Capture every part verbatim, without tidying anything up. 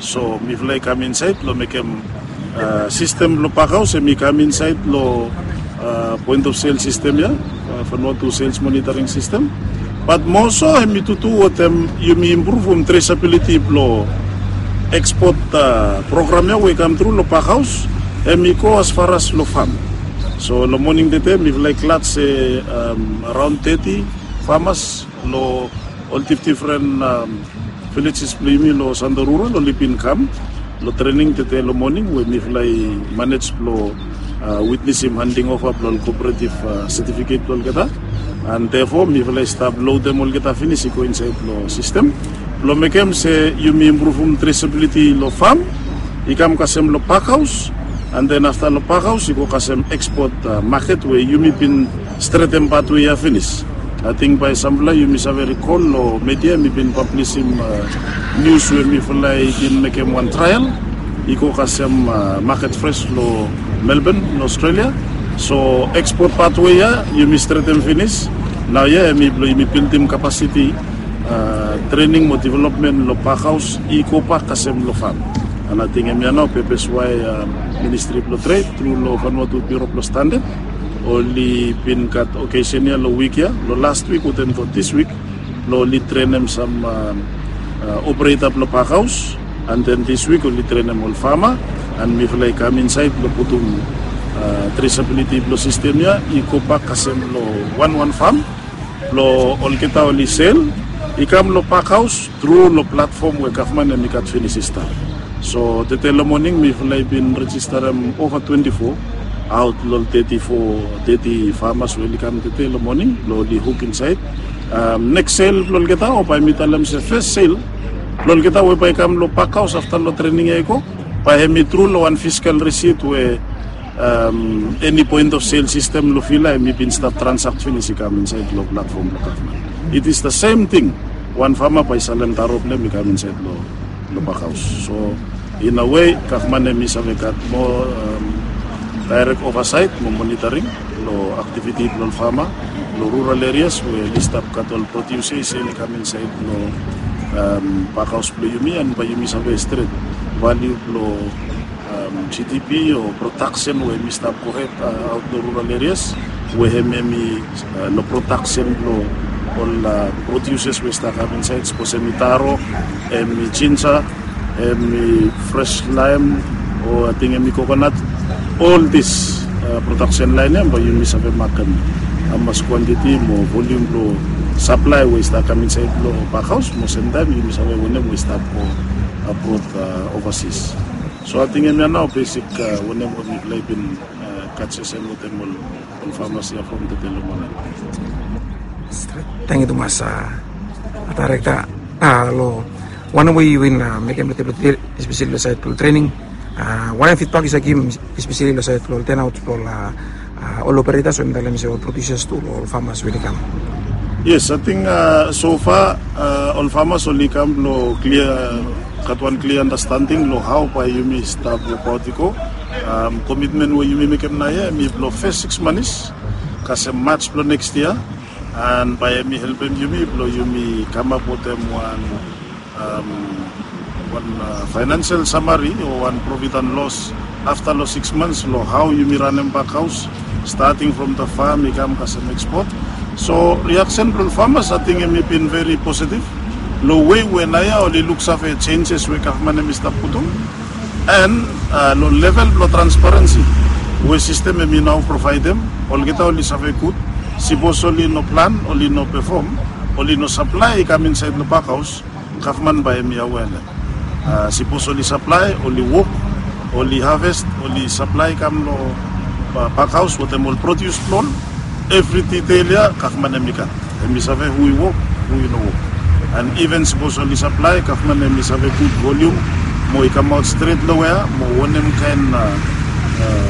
So mifala i kam insaed long mekem sistem blong pakhaos, em i kam insaed long point of sel sistem ya, Vanuatu sales monitoring system. Bat moso em i tutu wetem yumi impruvum traceability blong ekspot program ya we i kam tru long pakhaos, em i go as far as long fam. So long moning tete mifala i glad se araon teti famas long ol difdifren villages blong yumi long Santo Rural oli bin kam long trening tete long moning we mifala i manej blong witnesim handing ova blong ol kooperativ setifiket blong olgeta. And therefore mifala i stap lodem olgeta finis i go insaed long sistem blong mekem se yumi impruvum traceability long fam, i kam kasem long pakhaos, and then afta long pakhaos i go kasem ekspot maket we yumi bin stretem patwe ya finis. Ating bae sampela yumi save rikol long media mi bin pablisim nius we mifala i bin mekem wan trael i go kasem maket fres long Melbourne long Australia. So ekspot patwe ya yumi stretem finis. Nao ya em i blong yumi bildim kapasiti trening mo developmen long pakhaos i go bak kasem long fam. And ating em ya nao pepes wae ministri blong tred tru long Vanuatu Bureau blong Standard oli bin gat okesen ya long wik ya, long last wik wetem long dis wik, blong oli trenem sam opereta blong pakhaos. And then dis wik oli trenem ol fama, and mifala i kam insaed blong putum traceability blong sistem ya i go bak kasem long wanwan fam blong olgeta oli sel i kam long pakhaos tru long platfom we gavman em i gat finis i stap. So tete long moning mifala i bin rejistarem ova twenti fo aot long teti fo, teti famas we oli kam tete long moning blong oli huk insaed. Neks sel blong olgeta o bae mi talem se fes sel blong olgeta we bae i kam long pakhaos afta long trening ya i go, bae em i tru long wan fiskal risit we eni point of sel sistem long Vila em i bin stap transakt finis i kam insaed long platfom blong gavman. It is the same thing. Wan fama bae i salem taro blong em i kam insaed long pakhaos. So in a way gavman em i save gat moa daerek ovasaet mo monitoring long aktiviti blong ol fama long rural erias we oli stap gat ol prodiusa i sel i kam insaed long pakhaos blong yumi, and bae yumi save stret valiu blong GDP o prodaksen we em i stap gohed aot long rural erias, we hem em i long prodaksen blong ol prodiusas we i stap kam insaed, sapos em i taro, em i jinja, em i fres laem, o ating em i kokonat. Ol dis prodaksen laen ya bae yumi save makem hamas kwantiti mo volium blong saplae we i stap kam insaed long pakhaos, mo semtaem yumi save wanem we i stap go abrod ovasis. So ating em ya nao besik wanem we mifala i bin gat sesen wetem ol famas ya from tete long moning. Tangkiu tumas, Daerekta. Long wanem we yu bin mekem long tebol tede, espeseli long saed blong trening, wanem fidbak yu save givim espeseli long saed blong ol tenaot blong ol operetas we mi talem se ol prodiusas tu long ol famas we oli kam? Yes, ating sofa ol famas oli kam long klia, gat wan klia andastanding long hao bae yumi stap wokaot i go. Komitmen we yumi mekem naoia em i blong fes sikis manis kasem Maj blong neks yia, and bae em i helpem yumi blong yumi kamap wetem wan wan faenansel samari o wan profit and loss afta long sikis mans long hao yumi ranem bakhaos, stating from the farm i kam kasem ekspot. So riaksen blong ol famas ating em i bin veri positiv long wei we naoia oli luksave jenjes we gavman em i stap putum, and long level blong transparensi we sistem em i nao provaedem, olgeta oli save gud. Sipos oli no plan, oli no pefom, oli no saplae i kam insaed long bakhaos, gavman bae em i awea long hem. Sipos oli saplae, oli wok, oli haves, oli saplae i kam long bakhaos wetem ol prodius blong ol, evri ditel ya gavman em i gat. Em i save hu i wok, hu i no wok. And iven sipos oli saplae, gavman em i save gud volium mo i kamaot stret long wea mo wanem kaen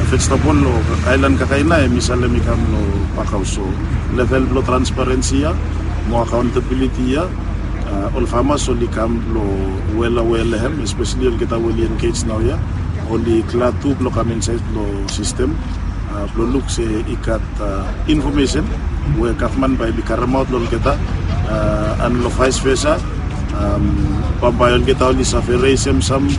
vejetebol o aelan kakaena em i salem i kam long bakhaos. So level blong transparensi ya mo akauntabiliti ya, ol famas oli kam blong wel awea long hem, espeseli olgeta we oli engej naoia, oli glad tu blong kam insaed long sistem blong luk se i gat infomesen we gavman bae i karemaot long olgeta, and long vaes vesa bambae olgeta oli save resem sam